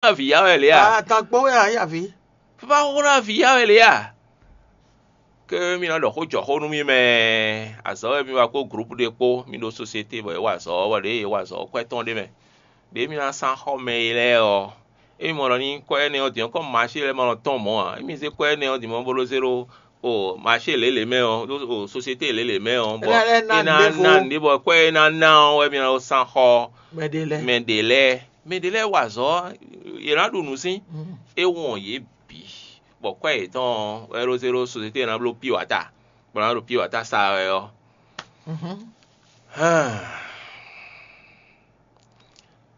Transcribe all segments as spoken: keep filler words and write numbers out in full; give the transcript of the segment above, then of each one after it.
Avǐ ya wɛ lě a? Atán kpó wɛ ǎ, yě avǐ. Fífá xó ná avǐ ya wɛ lě a? Ke mi ná ɖɔ xó jɔ xó nú mì mɛ. Azɔ̌ wɛ mi wá kpó grupu ɖé kpó, mi ɖó sosiete bɔ é wa azɔ̌, bɔ ɖěe é wa azɔ̌ kwɛ́ tɔn ɖé mɛ. Ɖěe mi ná sán xɔ mɛ e lɛ́ɛ ɔ́, émi mɔ ɖɔ ní kwɛ́ énɛ́ ɔ́ din ɔ́, kɔ́ maṣé lɛ́ɛ ma nɔ tɔ́n mɔ̌ ǎ, émi zé kwɛ́ énɛ́ ɔ́ din mɔ̌ bó ɖó zé ɖó o maṣé lělě mɛ ɔ́, ɖó o sosiete lělě mɛ ɔ́, bɔ é ná ná nǔɖé bɔ kwɛ́ e ná ná ɔ́ wɛ mi ná sán xɔ mɛ ɖě lɛ́ɛ. Mɛ ɖě lɛ́ɛ wa azɔ̌, yě ná ɖu nǔ sín. É wɔn yě bǐ, bɔ kwɛ́ yětɔn ɔ́ wɛ ɖó zé ɖó sosiete ná bló piwata, bɔ ná ɖo piwata sa wɛ ɔ́.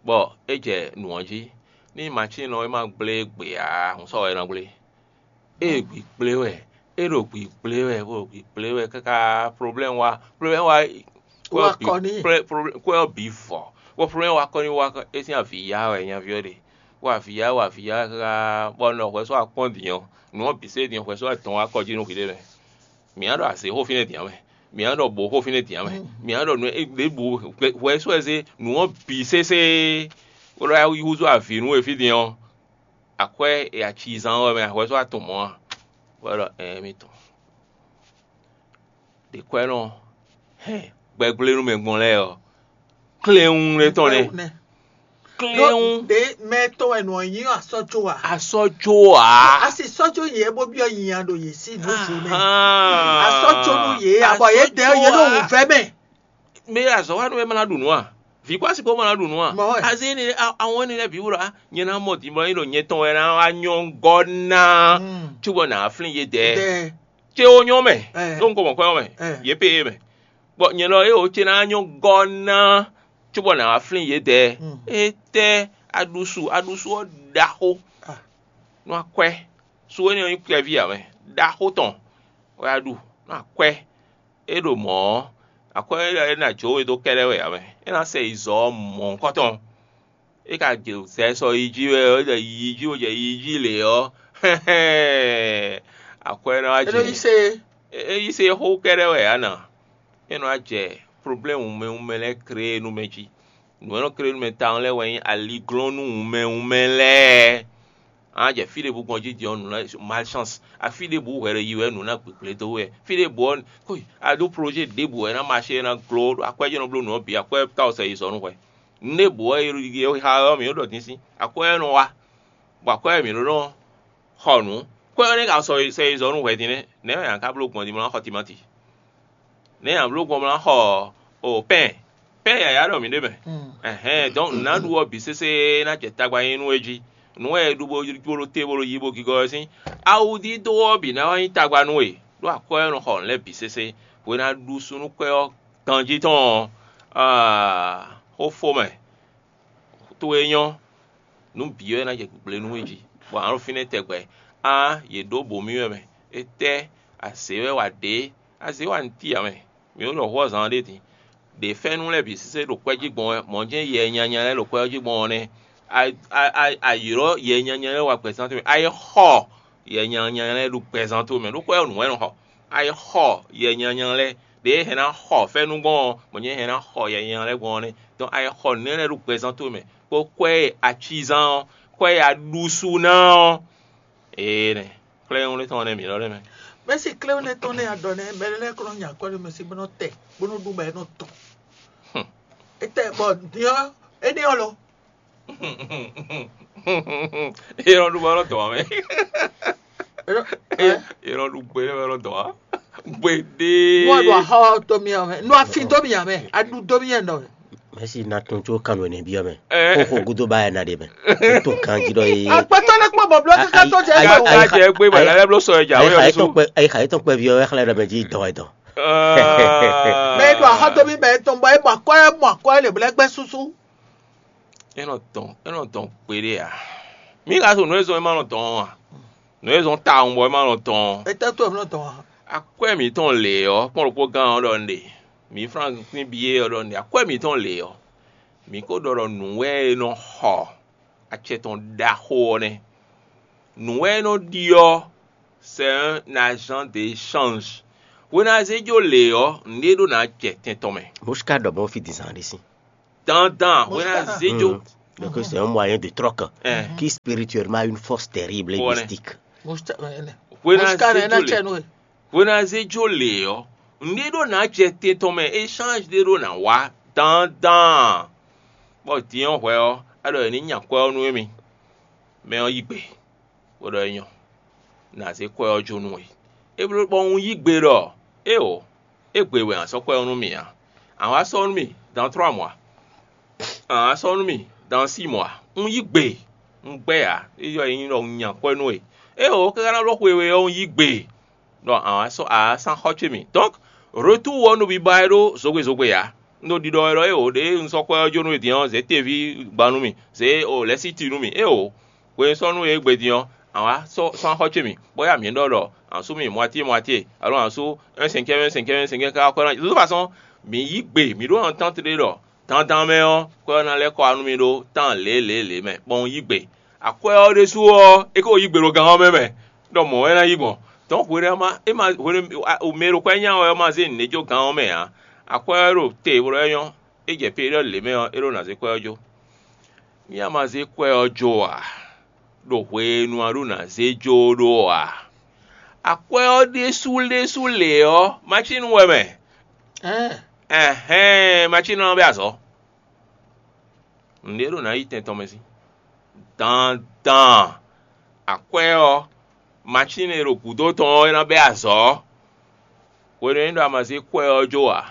Bɔ é jɛ nǔ ɔ́ jí, ní matín ɔ́ é ma gblé gbe ǎ, hǔn sɔ́ wɛ é ná gblé. É gbi gblé wɛ, é ɖo gbi gblé wɛ, bó ɖo gbi gblé wɛ káká problème wá, problème wá. Kwɛ́ ɔ́ bǐ vɔ, bó problème wá kɔ ní wá é sín avǐ ya wɛ nyaví ɔ́ ɖe, wá avǐ ya wá avǐ ya káká bɔ un ɖɔ hwɛ sɔ́ akpɔ́n din ɔ́, nǔ ɔ́ bǐ sɛ́ din hwɛ sɔ́ atɔn wá kɔ jí nú hwiɖée mɛ. Mǐ ná ɖɔ azě xó fínɛ́ din ǎ mɛ, mǐ ná ɖɔ bǒ xó fínɛ́ din ǎ mɛ, mǐ ná ɖɔ nǔ ɖěbǔ hwɛ sɔ́ ɛ zé nǔ ɔ́ bǐ sésé, bó ɖɔ yá yí húzú avǐ nú we fí din ɔ́, akwɛ́ e acizán ɔ́ wɛ mɛ hwɛ sɔ́ atɔn mɔ̌ a? Bó ɖɔ ɛɛ mi tɔn. Ɖě kwɛ́ nɔ hɛn gbɛgblénúmɛ gbɔn lɛ́ɛ ɔ́, klɛ́nwún lɛ́ɛ tɔn nɛ́. Klɛ́nwún. Ɖě mɛ tɔn wɛ nɔ nyí asɔ́ có a? Asɔ́ có a? Asi sɔ́ có yě bó byɔ́ nyinya ɖo yě sí nǔ vo mɛ. Asɔ́ có nú yě, abɔ yě dɛ yě ɖo wǔvɛ́ mɛ. Mɛ e azɔ̌ wa nú wɛ ma ná ɖu nǔ a? Vǐ kpó asi kpó ma ná ɖu nǔ a? Azé énɛ́ awɔn énɛ́ lɛ́ɛ bǐ wú ɖɔ á, nyɛ ná mɔ din bɔ é ɖo nyɛ tɔn wɛ ná wá nyɔ́ gɔ́ ná cóbɔ nǎ flín yě dɛɛ. Cé ó nyɔ́ mɛ, ɖó un ko mɔ kwɛ́ ɔ́ mɛ, yě pé é mɛ. Bɔ nyɛ lɔ éeǒ ce ná nyɔ́ gɔ́ ná cóbɔ nǎ wá flín yědɛɛ. Étɛ́ aɖusu aɖusu ɔ́ ɖaxó nú akwɛ́. Su énɛ́ ɔ́ nyí kpɛví ǎ mɛ, ɖaxó tɔn wɛ a ɖu nú akwɛ́. É ɖo mɔ̌ ɔ́, akwɛ́ élɔ́ é ná jó we dó kɛ́ɖɛ́ wɛ ǎ mɛ. É ná sɛ yi zɔ ɔ́ mɔ̌hunkɔtɔn. É ka jɛ zɛ sɔ yi jí wɛ ɔ́, é jɛ yi jí wɛ jɛ yi jí lě ɔ́, akwɛ́ ná wá jɛ. É yí se xó kɛ́ɖɛ́ wɛ ǎ nǎ. É nɔ wá jɛ problème wunmɛ wunmɛ lɛ́ɛ krée nú mɛ jí. Nǔ e nɔ krée nú mɛ tawun lɛ́ɛ wɛ nyí aliglɔ́nú wunmɛ wunmɛ lɛ́ɛ. A nǎ jɛ fí ɖěbǔ gbɔn jí din ɔ́, nǔ ná malchance. Afí ɖěbǔ hwɛ ɖo yi wɛ nǔ ná gbǐgblé dó wɛ. Fí ɖěbǔ ɔ́, a ɖó projet ɖěbǔ wɛ ná maché ná gló, akwɛ́ jɛ́n nɔ bló nǔ ɔ́ bǐ, akwɛ́ ka wɛ sɛ yi zɔ nú hwɛ. Nǔɖěbǔ ɔ́ e xa ɔ́ mǐ ɖɔ din sín, akwɛ́ ɔ́ nɔ wá, bɔ akwɛ́ ɔ́ mǐ ɖó nɔ xɔ nǔ. Kwɛ́ ɔ́ nɛ́ ka sɔ sɛ yi zɔ nú hwɛ din nɛ́, nɛ̌ wɛ a ka bló gbɔn din bó ná xɔ timáti? Nɛ̌ a bló gbɔn bó ná xɔ o pɛ́n? Pɛ́n yǎyá ɖɔ mǐ ɖe mɛ. Ɛhɛn, donc nǔ ná ɖu ɔ́ bǐ sésé ná jɛ tagba nyi nú é jí. Nǔ wɛ è ɖu bó ɖó te bó ɖo yi bó gigɔ wɛ sín. Awudídó ɔ́ bǐ ná wá nyí tagba nú we, ɖó akwɛ́ ɔ́ nɔ xɔ nǔ lɛ́ɛ bǐ sésé. Hwe ná ɖu súnnu kwɛ́ ɔ́ ganjí tɔn ɔ́, xó fó mɛ. Towe nyɔ́, nǔ bǐ wɛ ná jɛ gbǐgblé nú we jí, bɔ a nǎ ɖo fínɛ́ tɛgbɛ. Á, yě ɖó bǒ mì wɛ mɛ. Étɛ́, azě wɛ wa ɖě? Azě wa nǔ ti ǎ mɛ. Mǐ ɖo ɖɔ hwɔ́ zan ɖé din. Ɖě fɛ́nú lɛ́ɛ bǐ sésé ɖo kwɛ́ jí gbɔn wɛ, mɔ̌ jɛ́n yɛ nyanya lɛ́ɛ ɖo kwɛ́ ɔ́ jí gbɔn ɔ́ nɛ́. Ayǐlɔ́ yɛ nyanya lɛ́ɛ wa gbɛzán towe mɛ. A yi xɔ yɛ nyanya lɛ́ɛ ɖo gbɛzán towe mɛ, ɖó kwɛ́ ɔ́ nǔ wɛ nɔ xɔ. A yi xɔ yɛ nyanya lɛ́ɛ, ɖě e hɛn ná xɔ fɛ́nú gbɔn ɔ́, mɔ̌ jɛ́n hɛn ná xɔ yɛ nyanya lɛ́ɛ gbɔn ɔ́ nɛ́. Donc a yi xɔ nǔ énɛ́ lɛ́ɛ ɖo gbɛzán towe mɛ, kpó kwɛ́ e a ci zán ɔ́, kwɛ́ e a ɖu su ná ɔ́, ee nɛ. Xlɛ́ nyɔ́ɖé tɔn ɔ́ nɛ́ mǐ lɔ ɖ'é mɛ. Mɛ̌si klɛ́wúnɛ tɔn nɛ́ a ɖɔ nɛ́, mɛ lɛ́ɛ kɔ nɔ nya akwɛ́ ɖé mɛ sí bó nɔ tɛ, bó nɔ ɖu bɔ é nɔ tɔn. Étɛ́ bɔ din ɔ́, énɛ́ ɔ́ lo? É nɔ ɖu bɔ é nɔ dɔn ǎ mɛ. É nɔ ɖu gbe ɖé bɔ é nɔ dɔn ǎ. Gbeɖé. Nú a ɖu axɔ dó mì ǎ mɛ, nú a fin dó mì ǎ mɛ, a ɖu dó mì ɛ nɔ mɛ. Mɛsi na tun tso kanu ene bi ɔmɛ. Kókó gudo ba ena de mɛ. Tó kan jí dɔ ye. Akpɛtɔ ne kpɔ bɔblɔ kaka tó jɛ. Ayi ayi ayi ayi ayi tɔn kpɛ ayi ayi tɔn kpɛ bi ɔmɛ xlɛ dɔ mɛ jí dɔ ɛ dɔ. Mɛ e ɖo axɔ dó mì bɛ etɔn bɔ e mɔ akɔ e mɔ akɔ e le blɛ gbɛ susu. É nɔ dɔn é nɔ dɔn gbeɖé a? Mǐ ka so nǔ e zɔn é ma nɔ dɔn ɔ́ a? Nǔ e zɔn tawun bɔ é ma nɔ dɔn ɔ́. Etɛ́ tó è nɔ dɔn a? Akwɛ́ mǐtɔn lě ɔ́, kpɔ́n ɖokpó gán ɔ́ ɖɔ un ɖe. Mǐ Franklin biyé ɔ́ ɖɔ un ɖe. Akwɛ́ mǐtɔn lě ɔ́, mǐ ko ɖɔ ɖɔ nǔ wɛ é nɔ xɔ acɛ tɔn ɖaxó ɔ́ nɛ́. Nǔ wɛ é nɔ ɖi ɔ́, c'est un agent d'échange. Hwenu a zé jó lě ɔ́, nǔɖé ɖó ná jɛ tɛn tɔn mɛ. Bó ká ɖɔ mɔ̌ fí din zán ɖé sín. Dandan hwenu a zé jó. Donc c'est un moyen de troc qui spirituellement a une force terrible et mystique. Hwena zé jó lě ɔ́, nǔɖé ɖó ná jɛ te tɔn mɛ, échange ɖé ɖó ná wá dandan. Bɔ din ɔ́ hwɛ ɔ́, a ɖɔ è ní nya kwɛ́ ɔ́ nú émí, mɛ ɔ́ yí gbe, bó ɖɔ é nyɔ́, nǎ zé kwɛ́ ɔ́ jó nú we. É bló bɔ un yí gbe ɖɔ éeǒ, égbé wɛ a sɔ́ kwɛ́ ɔ́ nú mì ǎ. A wǎ sɔ́ nú mì dans trois mois, a wǎ sɔ́ nú mì dans six mois. Un yí gbe, un gbɛ́ ǎ, é yɔ nyí ɖɔ un nya kwɛ́ nú we. Éeǒ, káká ná bló xwe we ɔ́, un yí gbe ɖɔ a wǎ sɔ́ a wǎ sán xɔ ce mì. Donc retour ɔ́ nɔ biba wɛ ɖó zogbe zogbe ǎ. Un ɖo ɖiɖɔ wɛ ɖɔ éeǒ, ɖěe un sɔ́ kwɛ́ ɔ́ jó nú we din ɔ́, zě teví gba nú mì, zě o lɛ̌síti nú mì. Éeǒ, hwe e sɔ́ nú we égbé din ɔ́, a wǎ sɔ́ sán xɔ ce mì, bɔ yá mǐ ɖɔ ɖɔ a sú mì moitié moitié, alo a sú un cinquième un cinquième un cinquième káká kwɛ́ ná. De toute façon, mǐ yí gbe, mǐ ɖó entente ɖé ɖɔ dandan mɛ ɔ́, kwɛ́ ɔ́ ná lɛ́ kɔ wá nú mì ɖó tán lě lě lě mɛ, bɔ un yí gbe. Akwɛ́ ɔ́ ɖésú ɔ́, é ko yí gbe ɖo gán ɔ́ mɛ mɛ, ɖɔ mɔ̌ wɛ é ná yí gbɔn. Dɔ̌n hweɖé ɔ́ ma é ma hweɖé mɛ e ɖo kwɛ́ nya wɛ ɔ́ ma zé nǔɖé jó gán ɔ́ mɛ ǎ. Akwɛ́ ɔ́ ɖo te bó ɖɔ é nyɔ́, é jɛ périɔ́di lě mɛ ɔ́, é ɖó ná zé kwɛ́ ɔ́ jó. Mì a ma zé kwɛ́ ɔ́ jó ǎ, ɖo hwenu a ɖó ná zé jó ɖó ǎ. Akwɛ́ ɔ́ ɖésú ɖésú lě ɔ́, macínu wɛ mɛ. Ɛhɛn, macínu ɔ́ bɛ́ azɔ̌. Nǔɖé ɖo ná yi tɛn tɔn mɛ sín. Dandan akwɛ́ ɔ́, macínu e ɖo gǔdo tɔn ɔ́ é ná bɛ́ azɔ̌. Hwenu e é ɖo a ma zé kwɛ́ ɔ́ jó ǎ,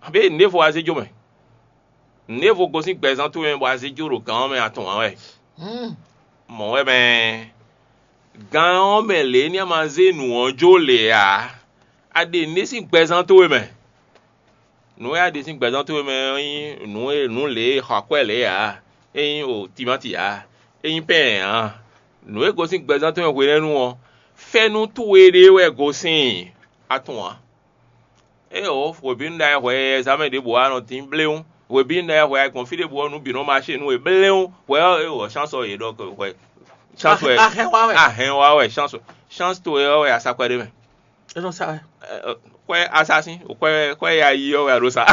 abě nǔɖévo wá zé jó mɛ. Nǔɖévo gosín gbɛzán towe mɛ bɔ a zé jó ɖo gǎn ɔ́ mɛ a tunwun ǎ wɛ. Mɔ̌ wɛ mɛ gǎn ɔ́ mɛ lě ní a ma zé nǔ ɔ́ jó lě ǎ. A ɖe nǔɖé sín gbɛzán towe mɛ. Nǔ e a ɖe sín gbɛzán towe mɛ ɔ́ nyí nǔ e nǔ lě e xɔ akwɛ́ lě ǎ, é nyí o timáti ǎ, é nyí pɛ́n ǎ. Nǔ e gosín gbɛzán towe mɛ hwenɛ́nu ɔ́, fɛ́nú towe ɖé wɛ gosín a tunwun ǎ. Éeǒ, hwebǐnu ɖ'ayǐ hwɛ e zǎmɛ ɖěbǔ wá nɔ dín bléwún. Hwebǐnu ɖ'ayǐ hwɛ a gbɔn fí ɖěbǔ ɔ́, nǔ bǐ nɔ maṣé nú we bléwún. Hwɛ ɔ́, éeǒ, chance ɔ́ yě ɖɔ hwɛ chance wɛ. Ahɛn wá wɛ. Ahɛn wá wɛ chance chance towe ɔ́ wɛ a sa kwɛ́ ɖé mɛ. É nɔ sa wɛ. Kwɛ́ a sa sín, kwɛ́ kwɛ́ ya yi ɔ́ wɛ a ɖo sa.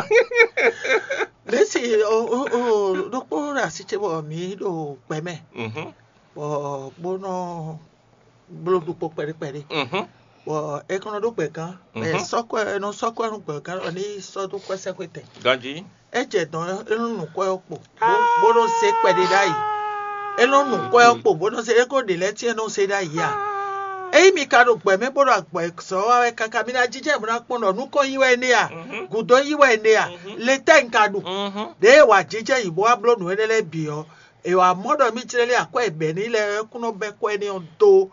Mɛ̌si o o o ɖokpó ɖo así ce bɔ mǐ ɖo gbɛ mɛ, bɔ bó nɔ bló ɖokpó kpɛɖé kpɛɖé. Bɔ é kɔn nɔ ɖó gbɛ̌gán, bɔ è sɔ́ kwɛ́ è nɔ sɔ́ kwɛ́ nú gbɛ̌gán ɖɔ ní sɔ́ dó kwɛ́sɛ́xwétɛn. Ganjí. É jɛ dɔ̌n é nɔ nu kwɛ́ ɔ́ kpo, bó nɔ zé kpɛɖé ɖ'ayǐ. É nɔ nu kwɛ́ ɔ́ kpo, bó nɔ zé é ko ɖě lɛ́ɛ tɛ́n é nɔ zé ɖ'ayǐ a? Ényí mi ka ɖo gbɛ mɛ bó ɖo agbɔ̌ zɔ́ wa wɛ káká, mi ná jínjɔ́n bó ná kpɔ́n ɖɔ nukɔn yí wɛ énɛ́ a? Gǔdo yí wɛ énɛ́ a? Le tɛ́ un ka ɖu? Ɖěe wǎ jínjɔ́n yǐ bó wá bló nǔ énɛ́ lɛ́ɛ bǐ ɔ́, è wǎ mɔ ɖɔ mì jlɛ́ lé akwɛ́ e bɛ̌ n'i lɛ́ɛ wɛ kún nɔ bɛ́ kwɛ́ énɛ́ ɔ́ dó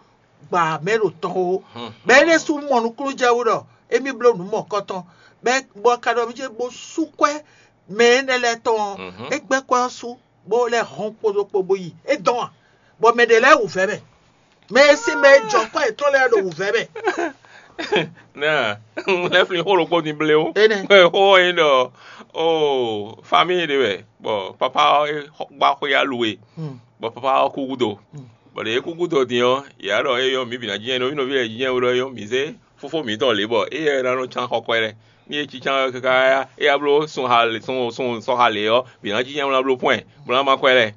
gbǎ mɛ ɖo tɔn ó. Bɔ é ɖésú mɔ nukúnnú jɛ wú ɖɔ émí bló nǔ mɔ̌kɔtɔn, bɔ ka ɖɔ mì jɛ bó sú kwɛ́ mɛ énɛ́ lɛ́ɛ tɔn ɔ́, é gbɛ́ kwɛ́ ɔ́ sú, bó lɛ́ hɔn kpódó kpó bó yi. É dɔn a? Bɔ mɛ ɖě lɛ́ɛ wǔvɛ́ mɛ. Mɛ e sín mɛ e jɔ kɔ́ yětɔn lɛ́ɛ ɖo wǔvɛ́ mɛ. Nɛ lɛ́ flin xó ɖokpó din bléwún. Énɛ́. Xó ɔ́ nyí ɖɔ o famíyi ɖé wɛ, bɔ papa ɔ́ é gbá xwé alue, bɔ papa ɔ́ kú gúdo. Bɔ ɖě é kú gúdo din ɔ́, yě wá ɖɔ éyɔ́ mǐ bǐ ná jínjɛ́n nɔví nɔví lɛ́ɛ jínjɛ́n wú ɖɔ éyɔ́ mǐ zé fófó mǐtɔn lě bɔ éyɛ́ ná nɔ cán xɔ kwɛ́ lɛ́ɛ. Ní é cícán ɔ́ káká éyá bló sun ha sun sun sɔxa lě ɔ́, bǐ ná jínjɛ́n wú ná bló pɔ́n ɛ, bó ná má kwɛ́ lɛ́ɛ.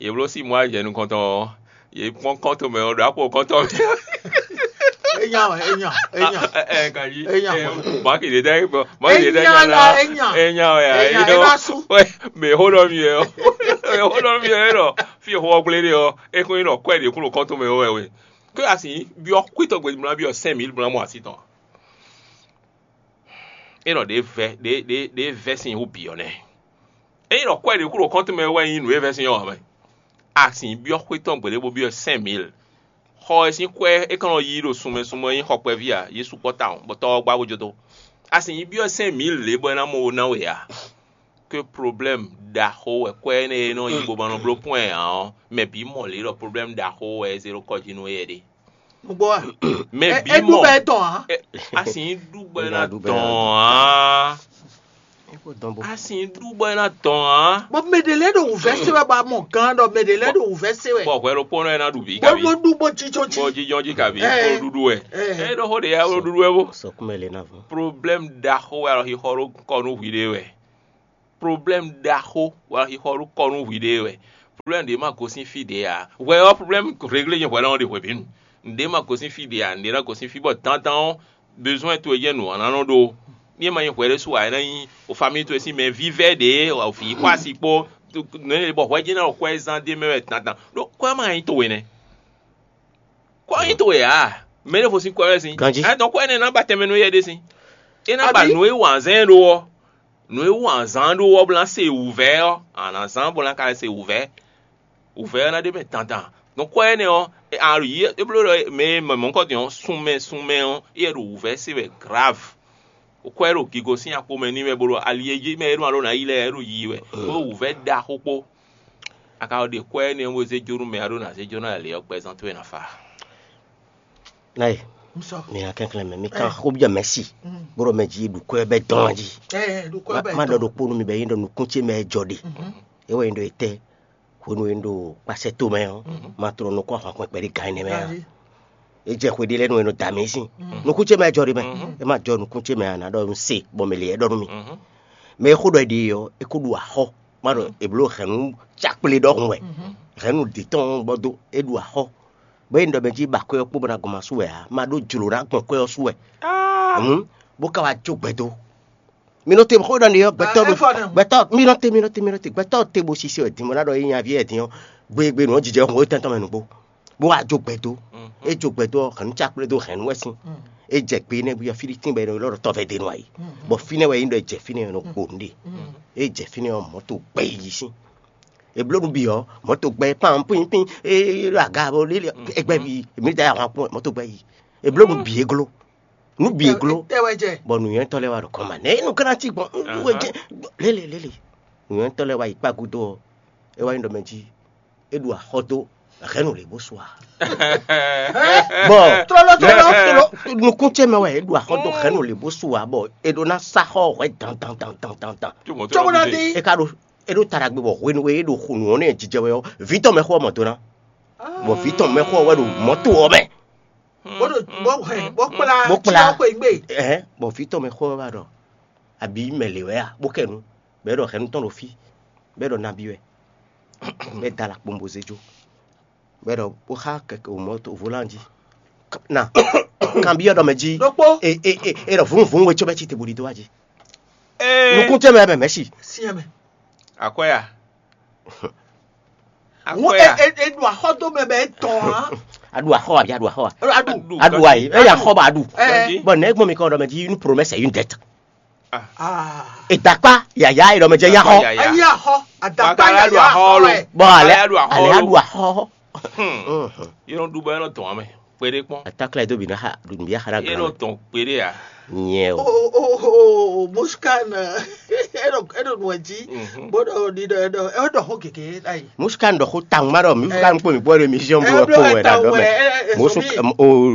Yě bló sí Mɔázi jɛ nukɔntɔn ɔ́, yě kpɔ́n kɔ́ntɔn mɛ ɔ́ ɖo akpɔ kɔ́ntɔn mɛ. Enya wɛ, enya, enya. Ɛ ɛ kanji. Enya wɛ. Baki de dɛ bɔ baki de dɛ nya la. Enya wɛ ya. Enya wɛ. Mɛ xó ɖɔ mi yɛ ɔ, mɛ xó ɖɔ mi yɛ ɔ, fi xó ɔgblé ɖe ɔ, é kún nyí ɖɔ kwɛ ɖě kún ɖo kɔ́ntɔn mɛ ɔ́ wɛ we. Ké asi byɔ kwítɔ gbedi mla byɔ cinq mille mla mɔ asi tɔn. É nɔ ɖě vɛ ɖě ɖě ɖě vɛ sin wú bǐ ɔ́ nɛ́. Ényí nɔ kwɛ ɖě kú ɖo kɔ́ntɔn mɛ wɛ nyí nǔ e vɛ sin ɔ́ ǎ mɛ. A sin byɔ́ xwé tɔn gbeɖé bó byɔ́ cinq mille. Xɔ ɛ sín kwɛ́ é ka nɔ yí ɖo sunmɛ sunmɛ nyí xɔ kpɛví ǎ, yě sukpɔ́ tawun bɔ tɔ́ ɔ́ gbá bó jó dó. A sin yi byɔ́ cinq mille lě bɔ é ná mɔ wo ná we ǎ. Que problème ɖaxó wɛ kwɛ́ énɛ́ e nɔ yi bó ma nɔ bló pɔ́n ɛ ǎ ɔ́, mɛ bǐ mɔ lě ɖɔ problème ɖaxó wɛ é zé ɖó kɔ jí nú éyɛ́ ɖe. Nugbo wa. Mɛ bǐ mɔ. Ɛ ɖu bɛ dɔn a. Ɛ, a sì ń ɖu bɔ é ná dɔn a. A sì ń ɖu bɔ é ná dɔn a. Bɔn mɛ ɖe lɛ ɖo wùvɛ se wɛ bɔ a mɔ gan ɖɔ mɛ ɖe lɛ ɖo wùvɛ se wɛ. Bɔ hwɛ ɖokpónɔ é ná ɖu bǐ kabi. Bó ɖu bó jíjɔ jí. Bó jíjɔ jí kabi. Ɛ. Bó ɖuɖu wɛ. Ɛ. Ɛ ɖɔ xó ɖe ya bó ɖuɖu wɛ bó. Sɔkúnmɛ lè ná vɔ. Problème ɖaxó wɛ alɔ xixɔ ɖó kɔ nú hwi ɖe wɛ. Problème ɖaxó wɛ xixɔ ɖo kɔ nú hwiɖée wɛ. Problème ɖě ma gosín fí ɖě ǎ. Hwɛ ɔ́, problème réglé nyɛ hwɛ lɔ́n ɖe hwebǐnu. Nǔɖé ma gosín fí ɖě ǎ, nǔɖé ná gosín fí bɔ dandan ɔ́, besoin towe jɛ́n nǔ ɔ́ ná nɔ ɖó. Ní e ma nyí hwɛ ɖésú ǎ, é ná nyí o famille towe sín mɛ vívɛ́ ɖě, o vǐ xɔ asi kpó nǔ e bɔ hwɛ jɛ́n ná ɖo xwɛ zán d'é mɛ wɛ dandan. Ɖó kwɛ́ ma nyí towe nɛ́. Kwɛ́ nyí towe ǎ. Mɛ ɖěvo sín kwɛ́ wɛ sín. Ganjí. Ɛ dɔn kwɛ́ énɛ́ ná ba tɛnmɛ nú yɛ ɖé sín. É ná ba Adi. Nǔ e wǎnzɛ́n ɖó ɔ́, nǔ e wǎnzán ɖó ɔ́ bó ná se wǔvɛ́ ɔ́, a nǎ zán bó ná ka se wǔvɛ́. Wǔvɛ́ ɔ́ ná ɖe mɛ dandan. Nǔ kwɛ́ énɛ́ ɔ́, a ɖo yí é bló ɖɔ mɛ e mɔ mɔ̌kɔtɔn ɔ́, sun mɛ sun mɛ ɔ́, é yɛ ɖo wǔvɛ́ se wɛ grave. Kwɛ́ ɖo gigo sín akpo mɛ n'i wɛ bó ɖo ali e jí mɛ e ɖo alo ná yi lɛ́ɛ é ɖo yiyi wɛ, bó ɖo wǔvɛ́ ɖaxó kpó. A ka ɖe kwɛ́ énɛ́ ɔ́ bó zé jó nú mɛ a ɖó ná zé jó ná lě ɔ́ gbɛzán towe ná fa. Nayi, mi nya kɛnklɛn mɛ, mi kan xó byɔ́ mɛ̌si, bó ɖɔ mɛ jí ɖu kwɛ́ bɛ́ dɔn jí. Má ɖɔ ɖokpó nú mi bɔ é nyí ɖɔ nukún ce mɛ jɔ ɖe. É wɛ nyí ɖɔ etɛ́, hwenu e un ɖo kpasɛ tomɛ ɔ́, ma tlɔ nukún ahwan kpɛkpɛ ɖé gan énɛ́ mɛ ǎ. É jɛ xwe ɖé lɛ́ɛ nú e nɔ da mǐ sín. Nukún ce mɛ jɔ ɖe mɛ. É ma jɔ nukún ce mɛ ǎ, ná ɖɔ un se bɔ mɛ lě é ɖɔ nú mì. Mɛ e xó ɖɔ è ɖe ɔ́, é ko ɖu axɔ́. Má ɖɔ è blǒ hɛ̌nnu cákplé ɖɔhun wɛ. Hɛ̌nnu ɖě tɔn bɔ dó é ɖu axɔ́. Bɔ é ɖɔ mɛ jí ba kwɛ́ ɔ́ kpó bɔ ná gɔn ma sú wɛ ǎ, ma ɖó jlǒ ná gbɔn kwɛ́ ɔ́ sú wɛ. Hǔn, bó ka wá jó gbɛdó. Mi nɔ te xó ɖɔ n'i ɔ́, gbɛtɔ́ ɖo gbɛtɔ́ mi nɔ te mi nɔ te mi nɔ te gbɛtɔ́ te bo sise wɛ din bɔ ná ɖɔ é nyaví wɛ din ɔ́, gbegbe nǔ ɔ́ jijɛ hɔn étɛn tɔn mɛ nǔgbó, bó wá jó gbɛ dó. É jó gbɛ dó ɔ́, hɛ̌nnu cákplé dó hɛ̌nnu wɛ sín. É jɛ gbe énɛ́ bú yɔ Filítín bɔ é nɔ ylɔ́ ɖɔ tɔ́vɛ́ ɖé nɔ ayǐ, bɔ fínɛ́ wɛ é nyí ɖɔ é jɛ fínɛ́ ɔ́ nɔ kpo nǔɖé. É jɛ fínɛ́ ɔ́, mɔ̌to gbɛ yi jí sín. È blǒ nǔ bǐ ɔ́, mɔ̌to gbɛ pán pín pín é ɖo aga bɔ lélẹ̀, ẹgbẹ́ bíi èmi da ahwan kpɔ́n mɔ̌to gbɛ yi. È blǒ nǔ bǐ é gló. Nǔ bǐ é gló. Tɛ wɛ jɛ. Bɔ nǔnywɛ́tɔ́ lɛ́ɛ wá ɖo kɔn ma nɛ̌ nú ká ná cí gbɔn wɛ jɛ lélẹ̀ lélẹ̀. Nǔnywɛ́tɔ́ lɛ́ɛ wá yi kpá gúdo ɔ́, é wá nyí ɖɔ mɛ jí é ɖu axɔ́ dó hɛ̌nnu lě bó su a. Bɔ Tlóló, tlóló, tlóló. Nukún ce mɛ wɛ é ɖu axɔ́ dó hɛ̌nnu lě bó su a, bɔ è ɖó ná sá xɔ hwɛ dan dan dan dan dan dan. Cóbó ná dín. É ka ɖo é ɖo taɖagbe bɔ hwenu e é ɖo xo nǔ ɔ́ nɛ jijɛ wɛ ɔ́, vǐ tɔn mɛ xó ɔ́ mɔ do ná. Bɔ vǐ tɔn mɛ xó ɔ́ wɛ ɖo mɔ̌to ɔ́ mɛ. Bó ɖo bó hɛn bó kplá Bó kplá. Xweyǐgbe. Ɛhɛn, bɔ vǐ tɔn mɛ xó ɔ́ wá ɖɔ, abǐ mɛ lě wɛ a, bó kɛ nu, bɔ é ɖɔ hɛ̌nnu tɔn ɖo fí, bɔ é ɖɔ nabí wɛ, bɔ é da alakpombo zé jó, bɔ é ɖɔ bó xá kɛkɛ o mɔ̌to volán jí. Na kanbyɔ́ ɖɔ mɛ jí. Ɖokpó. E e e e ɖɔ vǔnvún we có bɛ ci te bó ɖi dó wá jí. Nukún tɛ́ mɛ mɛ mɛ̌ si. Siɛn mɛ. Akwɛ́ a? Wọ́n Akwɛ́ a? E e e ɖu axɔ́ dó mɛ bɛ é tɔn á. Aɖu axɔ abi aɖu axɔ a? Aɖu. Aɖu ayi, eya xɔ ba aɖu. Ɛ. Bon, ne gbɔn mi kɔ ɖɔ mɛ jí une promesse et une dette. Ah. Edakpa yaya e ɖɔ mɛ jɛ ya xɔ. Yaya. Ayi axɔ. Adakpa Bakala yaya aɖu axɔ axɔ lo. Ɛ. Bon, ale Bakala aɖu axɔ ale lo. Aɖu axɔ. Hmm. Mhm. Yɔrɔ ɖu bɔ yɔrɔ tɔn amɛ. Kpeɖe kpɔn. Atakla do bi na xa ɖu bi axa na Yɔrɔ gbe. Tɔn kpeɖe a. Nyɛ O o. O o o o Muskan. Eɖo eɖo nua jí. Mhm. Bó ɖɔ ɖi ɖɔ ɖɔ eɖɔ xó gègé ayi. Muskan ɖɔ xó tawun ma ɖɔ Muskan kpó mi kpó ɖo émission bó Ɛ, kpó wɛ ɖa ɖɔ mɛ. Ɛ, ɛ, ɛ, Musu sɔmi. O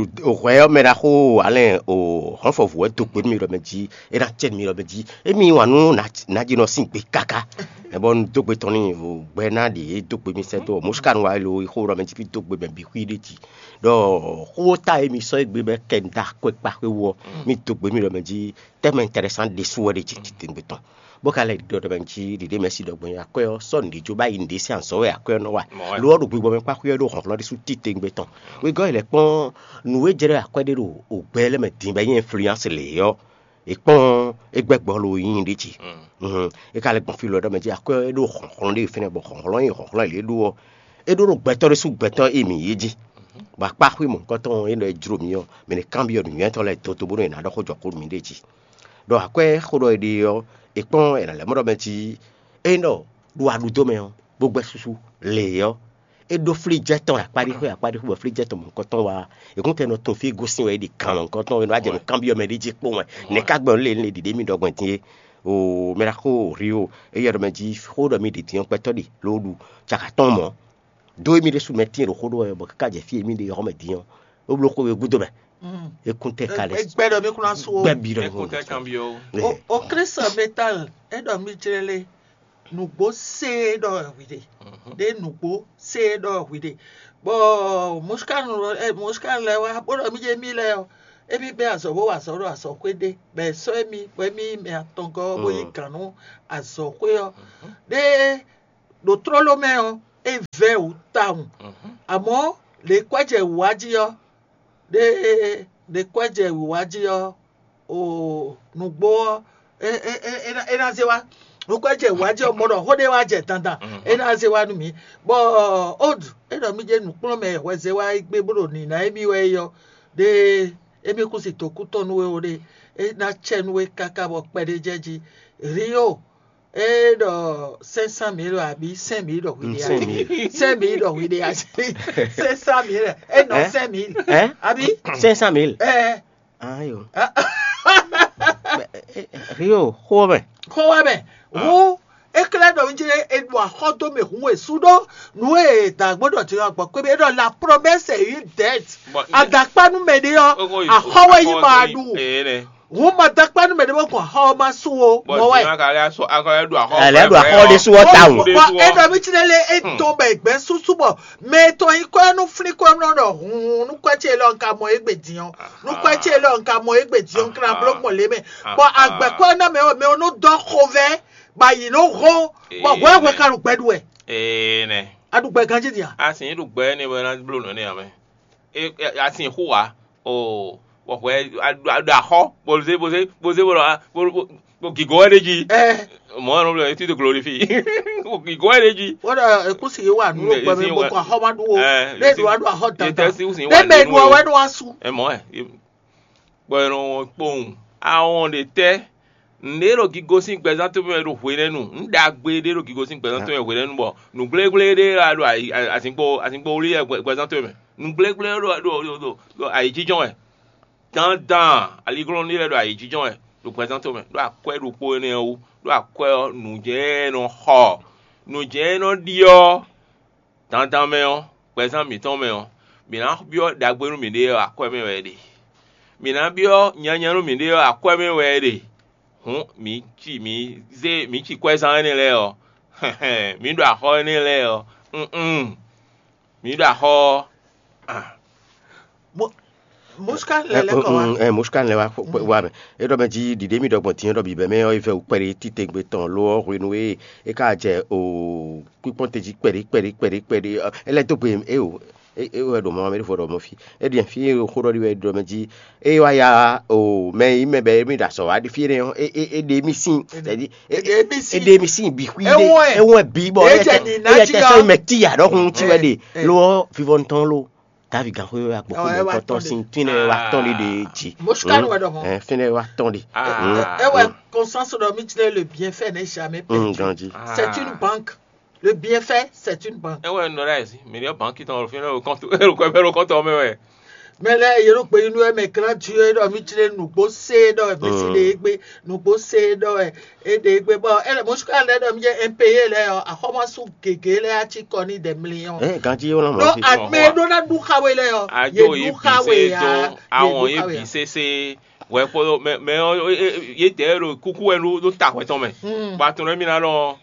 o hwɛ yɔ mɛ ɖa xó alɛ o hɔnfɔvu wɛ do gbe mi ɖɔ mɛ jí e na tse mi ɖɔ mɛ jí emi wa nu na na jí nɔ sin gbe kaka. Ɛ bɔ nu do gbe tɔn ni o gbɛ na ɖi e do gbe mi sɛ do Muskan wa lo xó ɖɔ mɛ jí fi do gbe mɛ bi xwi ɖe jí. Ɖɔ xó ta e mi sɔ egbe bɛ kɛ da kwe kpa xwe wɔ mi do gbe mi ɖɔ mɛ jí tɛmɛ intéressant ɖésú wɛ ɖe jí titengbe tɔn. Bó ka lɛ ɖɔ ɖɔ mɛ jí ɖiɖe mɛ si ɖɔ gbɔn akwɛ ɔ sɔ nǔɖé jó bá yi nǔɖé sín azɔ̌ wɛ akwɛ ɔ nɔ wa. Mɔ wɛ. Lo ɔ́ ɖo gbigbɔ mɛ kpá xwé ɔ́ ɖo hlɔ̌nhlɔ́n ɖésú titengbe tɔn. Wegɔ́ yi lɛ kpɔ́n nǔ e jɛ ɖɔ akwɛ ɖé ɖo ògbɛ lɛ́ mɛ din bɔ é nyí influence lě ɔ́, è kpɔ́n é gbɛ́ gbɔ lo yíyí ɖé jí. Mhm. É ka lɛ gbɔn fí lɔ ɖɔ mɛ jí akwɛ é ɖo hlɔ̌nhlɔ́n ɖé fínɛ́ bɔ hlɔ̌nhlɔ́n e hlɔ̌nhlɔ́n lě ɖó ɔ́, é ɖó ɖo gbɛtɔ́ ɖésú gbɛtɔ́ e mǐ yí jí. Bɔ akpá xwé mɔ̌hunkɔtɔn e nɔ e jló mǐ ɔ́, mǐ ní kanbyɔ́ nǔnywɛ́tɔ́ lɛ́ɛ dodó bónú è nǎ ɖɔ xó jɔ xó nú mǐɖée jí. Ɖɔ akwɛ́ xó ɖɔ è ɖe ɔ́, è kpɔ́n è nǎ lɛ́ mɔ ɖɔ mɛ jí ényí ɖɔ ɖo aɖudó mɛ ɔ́, bó gbɛ́ súsú lě ɔ́, é ɖó flíjɛ́ tɔn akpáɖíxwé akpáɖíxwé bɔ flíjɛ́ tɔn mɔ̌hunkɔtɔn wá. È kún tɛ nɔ tun fí gosín wɛ é ɖi kan mɔ̌hunkɔtɔn é nɔ wá jɛ nǔ kanbyɔ́ mɛ ɖé jí kpó wɛ. Nɛ̌ ká gbɔn lé lé ɖiɖe mì ɖɔ gbɔn din é? O mɛ ɖaxó Rio, é yɛ ɖɔ mɛ jí xó ɖɔ mi ɖi din ɔ́ gbɛtɔ́ ɖi ló ɖu caka tɔn mɔ̌. Dó émí ɖésú mɛ tíin ɖo xó ɖó wɛ bɔ káká jɛ fí émí ɖe xɔmɛ din ɔ́, é bló xó we gúdo mɛ. É kún tɛ ka lɛ Gbɛ ɖɔ mi kún ná sú o. Gbɛ bi ɖɔ É kún tɛ kanbyɔ́ o. O o Kristu metal é ɖɔ mi jlé lé nǔgbó sé é ɖɔ hwi ɖe. Ɖé nǔgbó sé é ɖɔ hwi ɖe. Bɔ Muskan Muskan lɛ wá bó ɖɔ mi jɛ mi lɛ ɔ Émí bɛ́ azɔ̌ bó wa azɔ̌ ɖo azɔ̌xwé ɖé, bɔ è sɔ́ émí bɔ émí nyí mɛ atɔngɔ́ ɔ́ bó nyí gǎn nú azɔ̌xwé ɔ́. Ɖé ɖo tlóló mɛ ɔ́, é vɛ́ wǔ tawun. Amɔ̌, lě kwɛ́ jɛ wǔ wá jí ɔ́, ɖé ɖě kwɛ́ jɛ wǐwá jí ɔ́, o nǔgbó ɔ́, é é é é ná- é ná zé wá. Nǔkwɛ́ jɛ wǐwá jí ɔ́, mɔ ɖɔ xó ɖé wá jɛ dandan, é ná zé wá nú mǐ. Bɔ Odu é ɖɔ mí jɛ nǔkplɔ́nmɛ hwɛzɛ́wá e gbé bó ɖo nǐná émí wɛ é ɔ́, ɖé émí kú si dǒkú tɔn nú we ó ɖé, é ná cɛ nú we káká bɔ kpɛɖé jɛ jí. Rio é ɖɔ cinq cent mille abǐ cinq mille ɖɔ hwi ɖe Cinq mille. Cinq mille ɖɔ hwi ɖe cinq cent mille é nɔ Hein? Cinq mille Hein? Abǐ Cinq cent mille. ɛ Ayo. Rio, xó mɛ. Xó wɛ mɛ hu éklɛ́ ɖɔ mí jlé é ɖo axɔ dó mɛ hu e sú ɖó nǔ e dǎgbó ɖɔ ti ɔ́ gbɔ kpé mɛ é ɖɔ la promesse est une dette. Bon, Adakpá nú mɛ ɖé ɔ́, Ogo yi- axɔ wɛ yi ma akɔ- ɖu. Ee, nɛ. Hu ma dakpá nú mɛ ɖé bɔ gbɔn axɔ ɔ́ ma sú o Bɔn mɔ wɛ. Jimá ka lɛ asɔ akɔ lɛ ɖu axɔ. Ɛ, lɛ ɖu axɔ ɖé sú ɔ́ tawun. Ɖé Bɔ sú é ɔ́. ɖɔ mí jlé lé é dɔn bɛ gbɛ súsú bɔ mɛ tɔn yi kɔ nú flín kɔ nɔ ɖɔ hun nú kɔ ce lɔ nka mɔ égbé din ɔ́. Nú kɔ ce lɔ nka mɔ égbé din ɔ́ kra bló gbɔn lé mɛ. Bɔ agbɛkɔ ná mɛ ɔ mɛ ɔ nɔ dɔ xovɛ ba yi nɔ hɔn bɔ hwɛ hwɛ ka ɖu gbɛ ɖu wɛ. Ee, nɛ. A ɖu gbɛ ganji dia. Asin ɖu gbɛ ne wɛ na blo nɔ ne amɛ. E asin xu wa. O, wɔ hwɛ aɖu axɔ bɔlùzé bɔlùzé bɔlùzé bɔlù bɔlù gigo wɛ ɖe jí. Ɛ Mɔ ɛnɔ blo etí de glorifie. Gigo wɛ ɖe jí. Wọ́n dọ̀ ẹ̀kú sì wà nínú Ǹdẹ̀ gbẹmí sí bó wà- kọ́ axɔ má ɖu o. Ɛ, Lé sí- ɖu wá ɖu axɔ yé dandan. tẹ́ sí wùsìn Lé wà mɛ nínú ɖu o. Ọwẹ́ ɖu wá su. Ɛ mɔ ɛ. Gbɔ ɛnɔ wọn kpɔn. Awɔn ɖe tɛ. Ǹdé ɖo gigo sín gbɛzán tó mɛ ɖo hwenɛ́nu. Ǹdagbe ɖé ɖo gigo sín gbɛzán tó mɛ hwenɛ́nu bɔ nǔgblégbléɖé wá ɖo ayi- a- azǐngbó azǐngbó wlí wɛ gbɛ- gbɛzán tó mɛ. Nǔgblégbléɖé ɖo ɖo ɖo ɖo ɖo ayǐjínjɔ́n wɛ. Dandan aliglɔ́n ɖé lɛ́ɛ ɖo ayǐjínjɔ́n wɛ ɖo gbɛzán tó mɛ ɖo akwɛ́ ɖokpó énɛ́ ɔ́ wú. Ɖo akwɛ́ ɔ́ nǔjɛ e nɔ xɔ nǔjɛ e nɔ ɖiɔ dandan mɛ ɔ́, gbɛzán mǐtɔn mɛ ɔ́, mǐ ná byɔ́ ɖagbe nú mǐɖée ɔ́ akwɛ́ mɛ wɛ é ɖe. Mǐ ná byɔ́ nyanya nú mǐɖée ɔ́ akwɛ́ mɛ wɛ é ɖe. Hǔn mǐ ci mǐ zé mǐ ci kwɛ́zán énɛ́ lɛ́ɛ ɔ́, mǐ ɖo axɔ énɛ́ lɛ́ɛ ɔ́, mm mǐ ɖo axɔ ɔ́. Mosika lɛ lɛ kɔ wa. Ɛ, Mosika lɛ wa kpɔ- kpɔ- wa mɛ. E ɖɔ mɛ jí ɖiɖe mi ɖɔ gbɔn tiɲɛ ɖɔ bǐbɛ mɛ ɔ́, e vɛ wú kpɛɖé titewungbe tɔn lo ɔ́ hwenu e é ka jɛ o kpíkpɔ́n te jí kpɛɖé kpɛɖé kpɛɖé kpɛɖé ɔ, é lɛ́ dó gbe e o e e wɛ ɖo mɔ mɛ ɖo fɔ ɖɔ mɔ fi. E ɖiɛ fi e xó ɖɔ ɖi wɛ ɖɔ mɛ jí e wa ya o mɛ yi mɛ bɛ mi ɖo azɔ wa ɖi fi énɛ́ ɔ́, e e e ɖe mi sín. C'est-à-dire, e- E ɖe mi sín. E ɖe mi sín bi xwi E wɔn ɛ. E wɔn ɛ bi bɔ E e jɛ tɛ- ni e na yɛ ji tɛ la. sɔ mɛ ti ya ɖɔ hun ti wɛ Ɛ, ɖe ɛ. Lo ɔ vivɔ ntɔn lo. Davi gan xwe wa gbɔ Ɔ, ɛ xwe wa kɔtɔn tɔn sin ɖe. tin ne wa tɔn ɖe ɖe dzi. Mosika lɛ wɛ ɖɔ mɔ. Ɛ fɛnɛ wa tɔn ɖe. Ah. Ɛ wɛ conscience ɖɔ mi jlɛ le bienfait n'est jamais Mm, perdu. Ganji. C'est une banque. Le bienfait, c'est une banque. Ewɔ nɔ ɖe ayi mi ɖe banki tɔn fi ne kɔntu ero kɔ ero kɔntɔ mɛ wɛ. Mɛ lɛ yelo gbe inú ɛ mɛ gran ju ɛ ɖɔ mi jlɛ nugbo se ɖɔ ɛ mɛ si ɖe egbe nugbo se ɖɔ ɛ e ɖe egbe bɔ ɛ lɛ mosika lɛ ɖɔ mi jɛ impayé lɛ ɔ axɔmasu gege lɛ atsi kɔ ni dɛ mli ɔ. Ɛ ganji wo lɔ Ɖo mɔ fi. amɛ ɖo na ɖu xawe lɛ ɔ Ajo yi ɖu bi xawe se ya do awɔn ye xawe bi ya. Sese wɛ kpɔdɔ mɛ mɛ ɔ ye tɛ ɖo kuku wɛ ɖo ɖo ta hwɛ tɔn mɛ. Mm. Ba tɔn mi na nɔ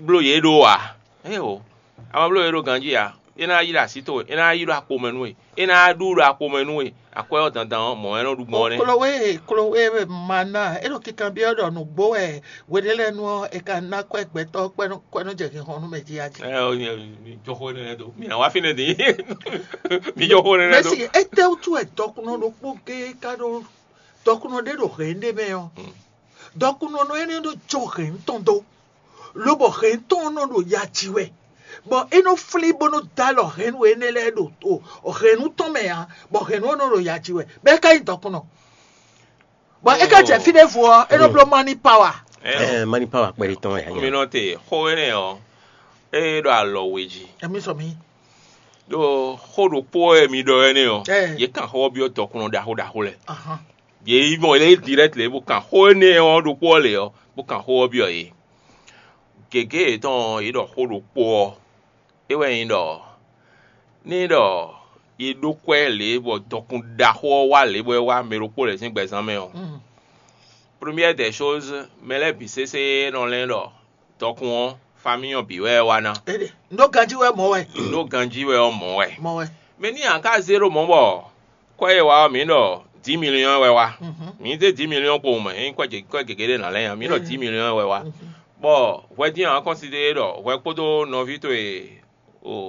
blo ye ɖo wa. Ɛ o ama blo ye ɖo ganji ya. E na yi ɖo asi to e na yi ɖo akpo mɛ nu e e na ɖu ɖo akpo mɛ nu e akwɛ ɔ dandan ɔ mɔ ɛ nɔ ɖu gbɔn nɛ. Klowe klowe mana e ɖo kikan bi ɔ ɖɔ nugbo ɛ wele lɛ nu ɔ e ka na kɔ gbɛtɔ kɔ nɔ jɛ hihɔn nu mɛ ji ya ji. Ɛ o mi jɔ xo ne do mi na wa fi ne di mi jɔ xo ne do. Mɛsi ete wotu ɛ dɔkunɔ ɖokpo ge ka ɖo dɔkunɔ ɖe ɖo hɛn ɖe mɛ ɔ dɔkunɔ nɔ ene ɖo jɔ hɛn tɔn do lobɔ hɛn tɔn nɔ ɖo ya ji wɛ bɔ e nɔ fli bo nɔ da lɔ hɛn nu ene lɛ ɖo o hɛn nu tɔn mɛ ya bɔ hɛn nu nɔ ɖo ya ji wɛ bɛ ka yi dɔkunɔ bɔ e ka jɛ fi ɖe vo ɔ e nɔ blo mani power. Ɛ Ɛ mani power kpɛɖe tɔn ya o mi nya. nɔ te xo ne ɔ e ɖo alɔ we ji. Emi sɔ mi. Ɖo xo ɖokpo ɛ mi ɖɔ ɛ ne ɔ Ɛ. Ye kan xɔ biɔ dɔkunɔ ɖaxo ɖaxo lɛ. Ahan. Ye yi mɔ le direct le bo kan xo ne ɔ ɖokpo ɔ le ɔ bo kan xo ɔ biɔ ye. Gege yetɔn ye ɖɔ xo ɖokpo ɔ e wɛ nyi ɖɔ ne ɖɔ ye ɖo kwɛ le bɔ dɔkun ɖaxo ɔ wa le bɔ e wa mɛ ɖokpo le sín gbɛzán mɛ ɔ. Mm. Première des choses mɛ lɛ bi sese nɔ lɛ ɖɔ dɔkun ɔ famille ɔ bi wɛ wa na. Ede ndo ganji wɛ mɔ wɛ Ɖo ganji wɛ ɔ mɔ wɛ. Mɔ wɛ. Mɛ ni a ka zé ɖo mɔ bɔ kɔ ye wa ɔ mi ɖɔ dix millions wɛ wá. Mǐ zé dix millions kpowun mɛ, ényí kwɛ́ gěgé ɖé ná lɛ́ nya, mǐ ɖɔ dix millions wɛ wá. Bɔ hwɛ dín ǎ kɔnsidéé ɖɔ hwɛ kpódó nɔví towe